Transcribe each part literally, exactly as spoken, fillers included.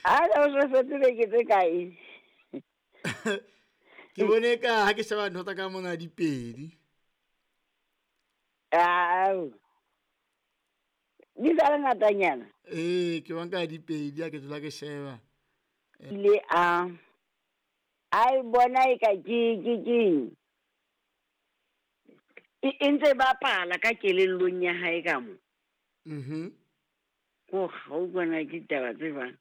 A o so setse beke tse kae? Ke bone ka ha ke sheba ntho tsa ka mona di pedi. Ao. Di sa le ngatanyana. Ee, ke bona ka di pedi ha ke dula ke sheba. Ile a a e bona e ka ke ke keng. E e ntse bapala ka kelellong ya hae ka mo. Mhm. Ko ga o bona ke taba tse bang.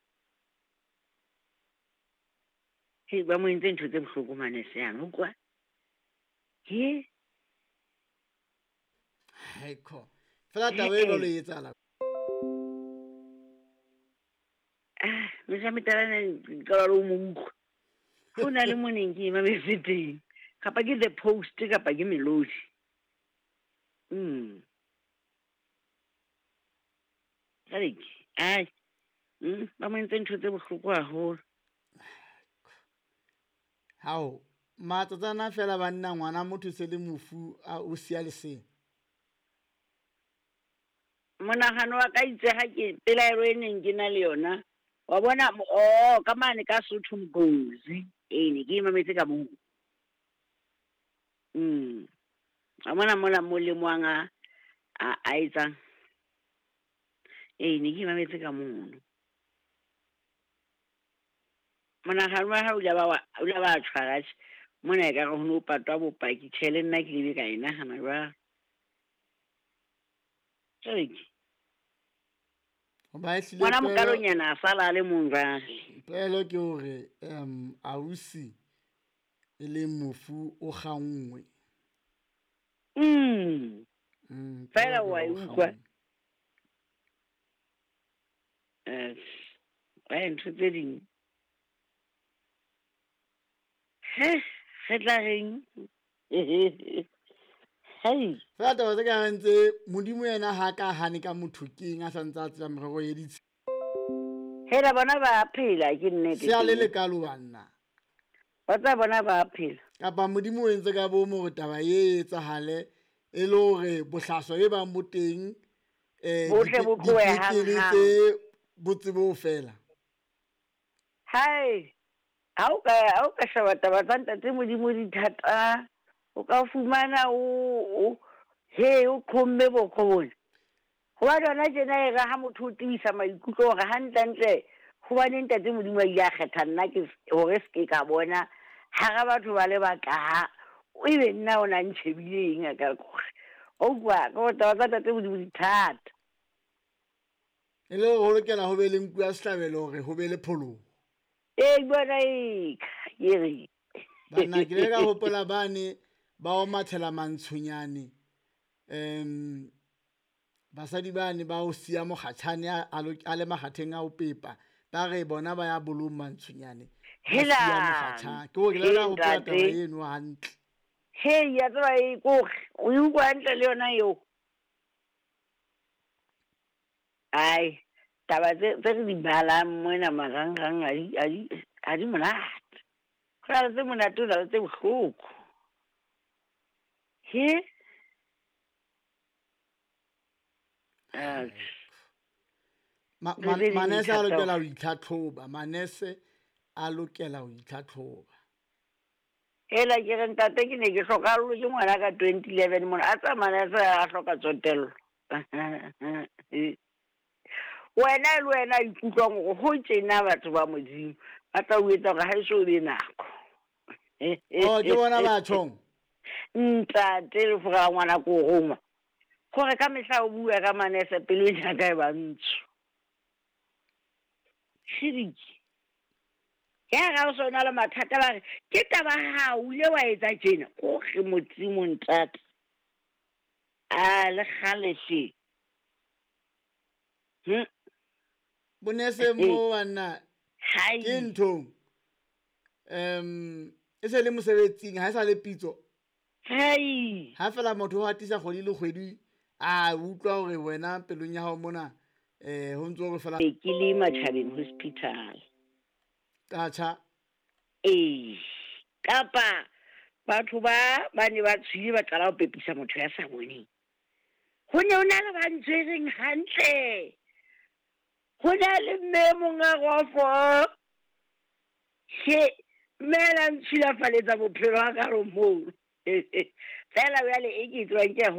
Hei, ba mo entse ntho tse bohloko manese yana, utlwa. He? Haikho. Fela taba e jwalo e etsahala. Ah, mehla metalana ke qala le ho mo utlwa. Ho na le mo neng ke e mametse teng. Kapa ke The Post kapa ke Melody. Mm. Jwale ke, ai. Mm, ba mo entse ntho tse bohloko haholo. Hao, matsatsana fela banna ngwana motho se le mofu a o siya lesea. Monahano wa ka itse ha ke pelaelo e neng ke na le yona. Wa bona oh ka mane ka Sotho Mgozi. Ee, ne ke e mametse ka moo. Mm. Wa bona mola mo lemoang a a a etsang. Ee, ne ke e mametse ka mono. Monahano wa hao o ile ba wa o ile ba tshwara tjhe. Mona ekare ho no patwa bopaki. Tjhe, le nna ke ile ka e nahana jwalo. Jwale ke Hoba ehlile ngwana pelo mokalonyana a sala a le mong jwale. Pelo ke hore um ausi e leng mofu o kganngwe. Mm. Mm, Fela pelo ke wa e hore o utlwa. kganngwe. Eh, wa ntho tse ding. He, re tla reng? Hei. Fela taba tse ka reng tse Modimo yena ha ka hane ka motho keng a santse a tseba merero e ditshila. Hela bona ba phela ke nnete. Se a le lekalo banna. Ba tsa bona ba phela. Kapa Modimo o entse ka bomo hore taba e etsahale e le hore bohlaswa e bang bo teng eh Bohle bo tlohe dipetlele hanghang. tse bo tsebe ho fela. Hai. Ha o ka ha o ka sheba taba tsa ntate Modimo di thata. O ka fumana o o he o qhomme boko bona. Hobane hona tjena e re ha motho o tiisa maikutlo hore hantlentle hobane ntate Modimo a ile a kgetha nna ke hore se ke ka bona hara batho ba le bakaha ebe nna o na ntjhebile eng a ka kore. O utlwa ka hore taba tsa ntate Modimo di thata. E le hore ho lokela ho be le nku ya sehlabelo hore ho be le pholoho. Ee, bona e ke re. Banna ke ile ka hopola bane ba o mathela mantshonyane. Em basadi bane ba o siya mokgatjhane a a lo- a le makgatheng a ho pepa. Ba re bona ba ya bolong mantshonyane. Ba Hela. siya mokgatjhane. Ke hore ke ile ka He, hopola taba ntate. eno hantle. Hei, ya tseba e kore o e utlwa hantle le yona eo. Ai, taba tse tse re di balang mona marangrang a di a di ha di monate. Ho na le tse monate, ho na le tse bohloko. He? Atjhe. Ma- Ntho ma- tse ding di manese a thata lokela hore. ho itlhatlhoba. Manese a lokela ho itlhatlhoba. Hela ke re ntate ke ne ke hlokahallwe ke ngwana ka twenty eleven mona. A tsa manese a hloka tsotello. Wena le wena ikutlwang hore ho tjena batho ba Modimo ba tla o etsa hore ha eso be nako. Oh, ke bona batho. Ntate le fora ngwana ko roma. Hore ka mehla o bua ka manese pelo ya ka e ba ntsho. Shiriki. Ya ga o sona le mathata ba re ke taba ha o ile wa etsa tjena. Ko re Modimo ntate. A le kgale hle. Hm. Bonese mo banna Hai. ke nthong. Em e se le mosebetsing ha e sa le pitso. Hai. Ha fela motho o hatisa kgwedi le kgwedi a utlwa hore wena pelong ya hao mona eh ho ntso hore fela Ke le Matjhabeng Hospital. Atjha. Ee. Kapa batho ba ba ne ba tswile ba qala ho pepisa motho ya sa boneng. Ho ne ho na le ba ntshwereng hantle. Ho na le mme e mong a rofo. He, mme a la ntshilafaletsa bophelo ha ka re moo. Fela jwale e ke e tsebang ke ya